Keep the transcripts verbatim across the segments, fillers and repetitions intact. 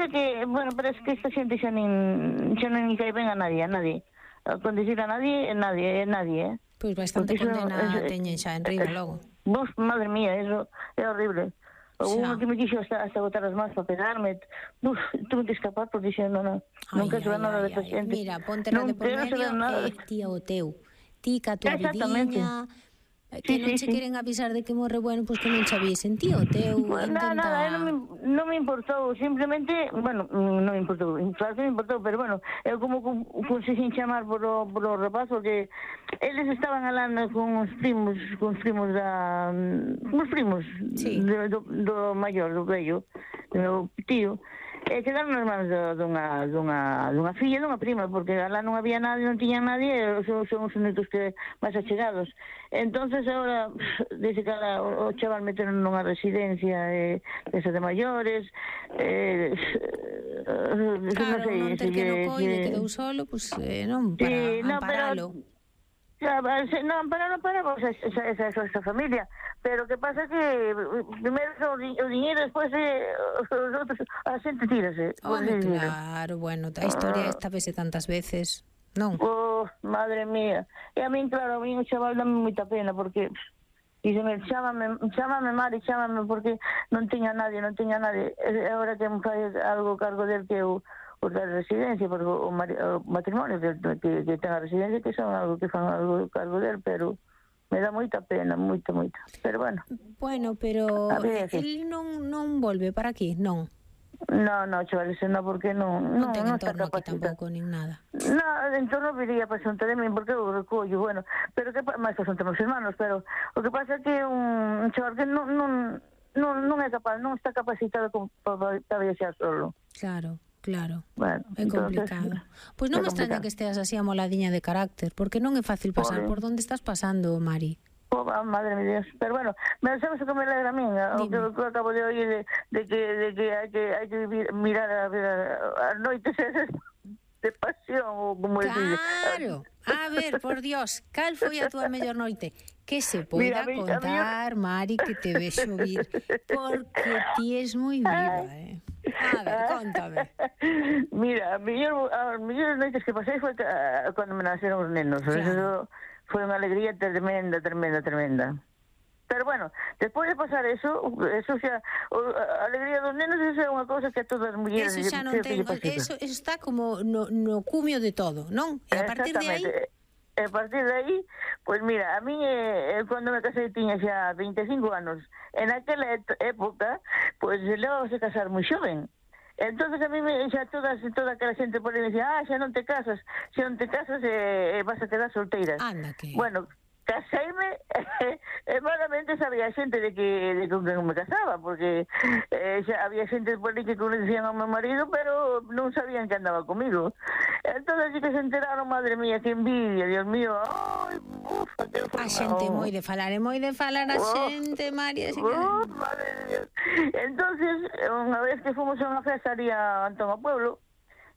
pasa que, bueno, pero es que esta xente xa nin, xa non cae ben a nadie, a nadie. A condicir a nadie, nadie, nadie, eh. Pois pues bastante Porque condena eso, teñen xa en riba logo. Vos, madre mía, eso é horrible. Unha Xa. que me quixo hasta, hasta botar as mans para pegarme. Uf, tuve que escapar porque dixendo, non, non quero saber nada desta xente. Mira, ponte la de por medio e ti o teu. Ti ca tua vidiña, que sí, non sí, se sí. queren avisar de que morre, bueno, pois pues que non che avisen. Ti o teu, Pues intenta... Nada, nada, non me, non me importou, simplemente, bueno, non me importou, claro que me importou, pero bueno, eu como conseguín chamar por o, por o rapaz, porque eles estaban alando con os primos, con os primos da, con os primos sí. do, do, do maior, do vello, do meu tío, e quedaron nas mans dunha, dunha, dunha filla, dunha prima, porque alá non había nadie, non tiñan nadie, e son, son os únicos que máis achegados. Entonces agora, dice que ala, o, o chaval meteron nunha residencia eh, esa de maiores, eh, claro, non sei, non ter que no coide, que, quedou solo, pois pues, eh, non, para sí, no, amparalo. Pero, non, para non para esa, esa, esa, esa familia, pero que pasa que primeiro o, o dinheiro, despois eh, os outros, a xente tírase. Home, claro, bueno, a historia esta vese tantas veces, non? Oh, madre mía. E a min, claro, a min o chaval dame moita pena, porque díxeme, chámame, chámame Mari, chámame, porque non tiña nadie, non tiña nadie. E agora que me fai algo cargo del que eu por da residencia, porque o, o matrimonio que, que, que ten a residencia, que son algo que fan algo cargo del, pero me dá moita pena, moita, moita. Pero bueno. Bueno, pero el non non volve para aquí, non? No, no, chavales, no, porque non non, non ten non entorno aquí tampouco, nin nada. No, en entorno viría para xunta de min, porque eu recollo, bueno, pero que máis para xunta meus hermanos, pero o que pasa é que un chaval que non non non, non é capaz, non está capacitado para, para viaxar solo. Claro. Claro, bueno, é complicado. Pois pues non me extraña que esteas así amoladiña de carácter, porque non é fácil pasar por, por donde estás pasando, Mari. Oh, madre mía, Dios. Pero bueno, me sabes o que me alegra a min, o que eu acabo de oír de, de que de que hai que hai que vivir, mirar a, a, a noites esas de pasión, ou como claro. Claro. A ver, por Dios, cal foi a túa mellor noite? Que se poida Mira, contar, mí... Mari, que te vexo vir, porque ti es moi viva, eh. A ver, contame. Mira, a mellor, as mellores noites que pasei foi uh, cando me naceron os nenos. Claro. Eso foi unha alegría tremenda, tremenda, tremenda. Pero bueno, despois de pasar eso, eso xa, a alegría dos nenos, eso é unha cousa que a todas as mulleres... Eso xa non ten, eso, eso está como no, no cumio de todo, non? E a partir de aí... E a partir de aí, pois pues mira, a mí eh, cando me casei tiña xa vinte e cinco anos. En aquela época, pois pues, levábase a casar moi xoven. Entonces a mí me, xa todas, toda aquela xente por aí me decía, ah, xa non te casas, xa non te casas e eh, vas a quedar solteira. Anda que... Bueno, caseime e malamente sabía xente de que de con quen me casaba, porque eh, xa había xente por aí que conocían ao meu marido, pero non sabían que andaba comigo. Entonces sí que se enteraron, madre mía, que envidia, Dios mío. Ai, ufa, que a xente moi de falar, é moi de falar a xente, María, así que... Oh, madre mía. Entonces, unha vez que fomos a unha festa ali a Antón ao Pueblo,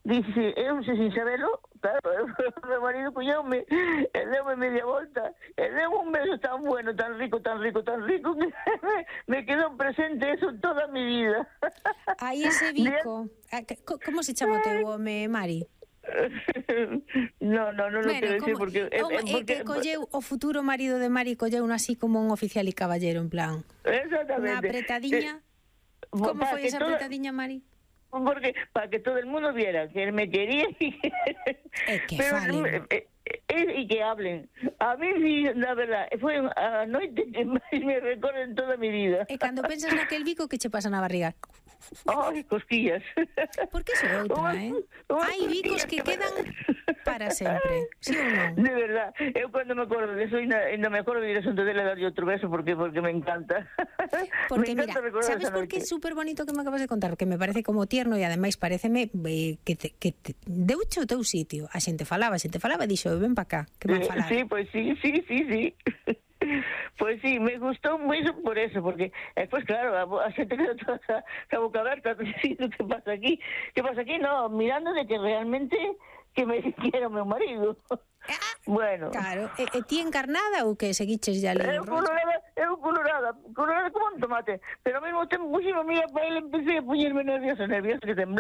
dixe, eu se sin sabelo, claro, o meu marido cuñoume, e deume media volta, e deu un beso tan bueno, tan rico, tan rico, tan rico, que me quedou presente eso toda mi vida. Aí ese bico, como se chama o teu home, Mari? No, no, non bueno, lo quero decir porque... É porque... que colleu o futuro marido de Mari, colleu así como un oficial e caballero, en plan... Exactamente. Unha apretadiña. Eh, como foi esa toda... apretadiña, Mari? Porque para que todo el mundo viera que él me quería y que, eh, que pero, falen. Eh, eh, y que hablen. A mí sí, la verdad, foi a noite que máis me recorre en toda mi vida. E cando pensas naquel bico, que che pasa na barriga? Ai, cosquillas. Porque iso é outra, eh? Hai bicos que quedan para sempre, sí ou non? De verdad, eu cando me acordo de eso, ainda me acordo de ir a Santo de darlle outro beso, porque porque me encanta. Porque me encanta, mira, sabes por que é super bonito que me acabas de contar? Que me parece como tierno e ademais pareceme eh, que te, que te deuche o teu sitio. A xente falaba, a xente falaba e dixo, ven pa cá, que van falar. Sí, pois pues sí, sí, sí, sí. Pois sí, me gustou moito por eso, porque despois, claro, a, a xente quedou toda a boca aberta dicindo que pasa aquí, que pasa aquí, no, mirando de que realmente que me quiera o meu marido. Ah, bueno. Claro, e, e ti encarnada ou que seguiches ya ali? Eu colorada, eu colorada, colorada como un tomate, pero ao mesmo tempo, puxime a mía para ele, empecé a poñerme nerviosa, nerviosa, que temblaba.